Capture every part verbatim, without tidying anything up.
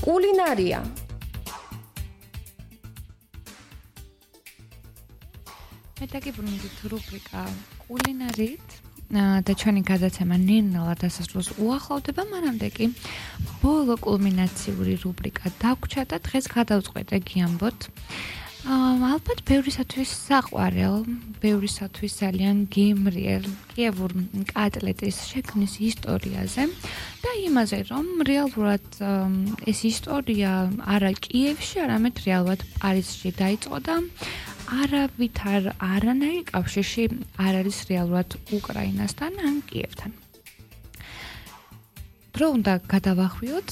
კულინარია. მე დაგიბრუნდით რუბრიკა კულინარით და ჩვენი გადაცემა ნელ-ნელა დასასრულს უახლოვდება, მანამდე კი ბოლო კულმინაციური რუბრიკა დაგვრჩა და დღეს გადავწყვეტე გიამბოთ. ალბათ ბევრისათვის საყვარელ, ბევრისათვის ძალიან გემრიელ კიევურ კატლეტის შექმნის ისტორიაზე და იმაზე, რომ რეალურად ეს ისტორია არა კიევში, არამედ რეალურად პარიზში დაიწყო და არავითარ არანაირი კავშირში არ არის რეალურად უკრაინასთან ან კიევთან. დრო უნდა გადავახვიოთ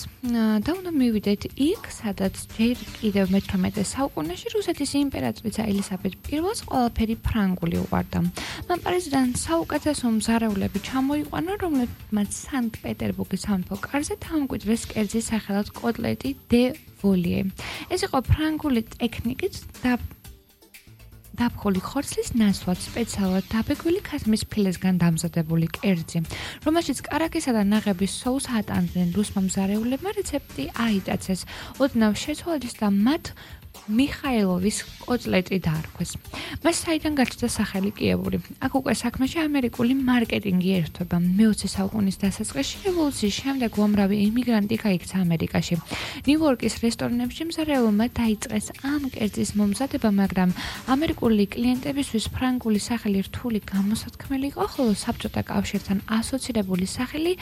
და უნდა მივიდეთ იქ, სადაც ჯერ კიდევ მეთორმეტე საუკუნეში რუსეთის იმპერატრიცა ელისაბედ პირველს ყველაფერი ფრანგული უყვარდა. მან პარიზიდან საუკეთესო მზარეულები ჩამოიყვანა, რომლებმაც სანქტ-პეტერბურგის სამეფო კარზე დაამკვიდრეს კერძის სახელად კოტლეტი დე ვოლიე. ეს იყო ფრანგული ტექნიკით და დაფხული ხორცლის ნასვად სპეციალურად დაბეგვილი ქასმის ფილესგან დამზადებული კერძი, რომელშიც კარაქისა და ნაღების სოუსს ატანდნენ რუსმა მზარეულებმა, რეცეპტი აიტაცეს ოდნავ შეცვალეს და მათ მიხაილოვის კოტლეტი დაარქვეს. მას საიდან გაჩნდა სახელი კიევური? აქ უკვე საქმეში ამერიკული მარკეტინგი ერთვება. მეოცე საუკუნის დასაწყისში რევოლუციის შემდეგ უამრავი იმიგრანტი გაიქცა ამერიკაში. ნიუ-იორკის რესტორნებში მზარეულმა დაიწყეს ამ კერძის მომზადება, მაგრამ ამერიკული კლიენტებისთვის ფრანგული სახელი რთული გამოსათქმელი იყო, ხოლო საბჭოთა კავშირთან ასოცირებული სახელი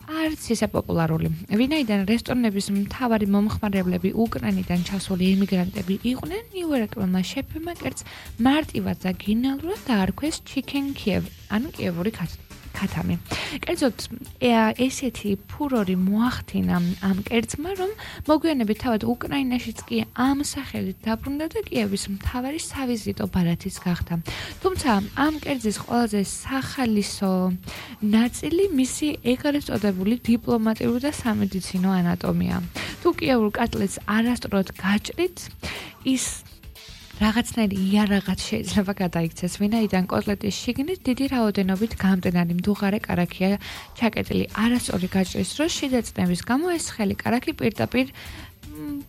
არც ისე პოპულარული. ვინაიდან რესტორნების მთავარი მომხმარებლები უკრაინიდან ჩასული იმიგრანტები იყვნენ, ნიუ-იორკელმა შეფებმა კერძს მარტივად და გენიალურად დაარქვეს Chicken Kiev, ანუ კიევური ქათამი. კერძოდ ესეთი ფურორი მოახდინა ამ კერძმა, რომ მოგვიანებით თავად უკრაინაშიც კი ამ სახელით დაბრუნდა და კიევის მთავარი სავიზიტო ბარათიც გახდა. თუმცა ამ კერძის ყველაზე სახალისო ნაწილი მისი ეგრეთ წოდებული დიპლომატიური და სამედიცინო ანატომია. თუ კიევურ კატლეტს არასწორად გაჭრით, ის რაღაცნაირი იარაღაც შეიძლება გადაიქცეს, ვინაიდან კოტლეტის შიგნით დიდი რაოდენობით გამტენარი მდუღარე კარაქია ჩაკეტილი. არასწორი გაჭრის დროს შიდა წნევის გამო ეს ხელი კარაქი პირდაპირ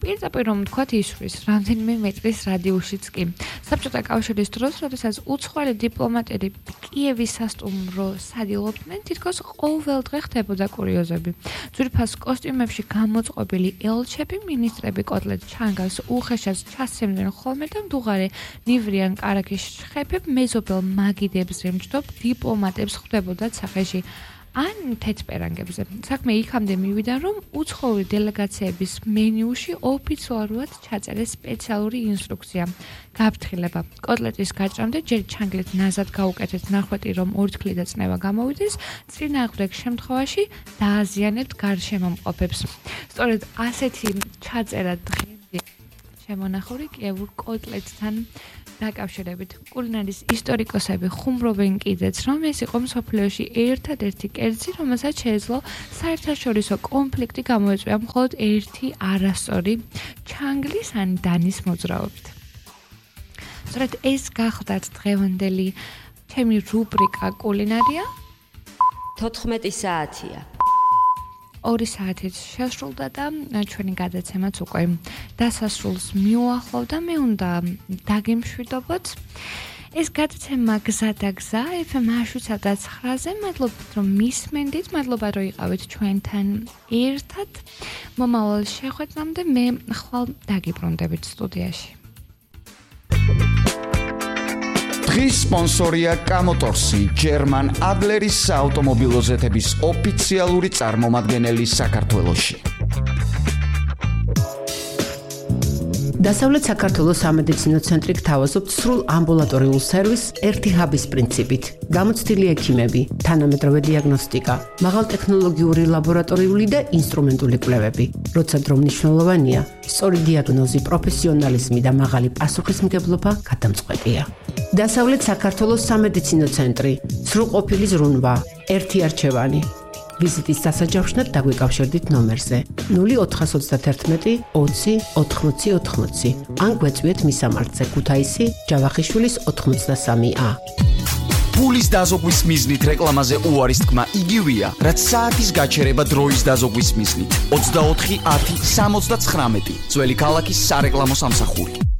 პირდაპირ რომ ვთქვათ ისვრის, რამდენიმე მეტრის რადიუსშიც კი. საბჭოთა კავშირის დროს, როდესაც უცხოელი დიპლომატები კიევის სასტუმრო სადილობდნენ, თითქოს ყოველდღე ხდებოდა კურიოზები. ძვირფას კოსტიუმებში გამოწყობილი ელჩები, მინისტრები კოტლეტ ჩანგას უხეშად ჩასცემდნენ ხოლმე და მდუღარე ნივრიან კარაქის შეფებ მეზობელ მაგიდებს რემჯდობ დიპლომატებს ხვდებოდათ სახეში ან თეთრპერანგებზე. საქმე იქამდე მივიდა, რომ უცხოური დელეგაციების მენიუში ოფიციალურად ჩაწერეს სპეციალური ინსტრუქცია. გაფრთხილება. კოტლეტის გაჭრამდე ჯერ ჩანგლით ნაზად გაუკეთეთ ნახვეტი, რომ ორთქლი და წნევა გამოვიდეს, წინააღმდეგ შემთხვევაში დააზიანებთ გარშემომყოფებს. სწორედ ასეთი ჩაწერა დღემდე შემონახული კიევურ კოტლეტთან დაკავშირებით. კულინარის ისტორიკოსები ხუმრობენ კიდეც, რომ ეს იყო მსოფლიოში ერთადერთი კერძი, რომელსაც შეეძლო საერთაშორისო კონფლიქტი გამოეწვია მხოლოდ ერთი არასწორი ჩანგლის ან დანის მოძრაობით. სწორედ ეს გახლდათ დღევანდელი ჩემი რუბრიკა კულინარია. თოთხმეტი საათია. ორი საათით შესრულდა და ჩვენი გადაცემაც უკვე დასასრულს მიუახლოვდა. მე უნდა დაგემშვიდობოთ. ეს გადაცემა გზა და გზა ეფ ემ შვიდსა და ცხრაზე. მადლობთ რომ მისმენდით, მადლობა რომ იყავით ჩვენთან ერთად. მომავალ შეხვედრამდე მე ხვალ დაგიბრუნდებით სტუდიაში. დღის სპონსორია კამოტორსი, ჯერმან ადლერის საავტომობილო ზეთების ოფიციალური წარმომადგენელი საქართველოში. დასავლეთ საქართველოს სამედიცინო ცენტრი გთავაზობთ სრულ ამბულატორიულ სერვისს ერთი ჰაბის პრინციპით. გამოცდილი ექიმები, თანამედროვე დიაგნოსტიკა, მაღალტექნოლოგიური ლაბორატორიული და ინსტრუმენტული კვლევები. როცა დრო მნიშვნელოვანია, სწორი დიაგნოზი, პროფესიონალიზმი და მაღალი პასუხისმგებლობა გადამწყვეტია. დასავლეთ საქართველოს სამედიცინო ცენტრი, სრულყოფილი ზრუნვა, ერთი არჩევანი. ვიზიტის დასაჯავშნად დაგვიკავშირდით ნომერზე ნული ოთხას ოცდაათერთმეტი ოცი ოთხმოცი ოთხმოცი ან გვეწვიეთ მისამართზე ქუთაისი ჯავახიშვილის ოთხმოცდასამი ა. ფულის დაზოგვის მიზნით რეკლამაზე უარის თქმა იგივეა, რაც საათის გაჩერება დროის დაზოგვის მიზნით. ოცდაოთხი ათი სამოცდაცხრამეტი ძველი ქალაქის სარეკლამო სამსახური.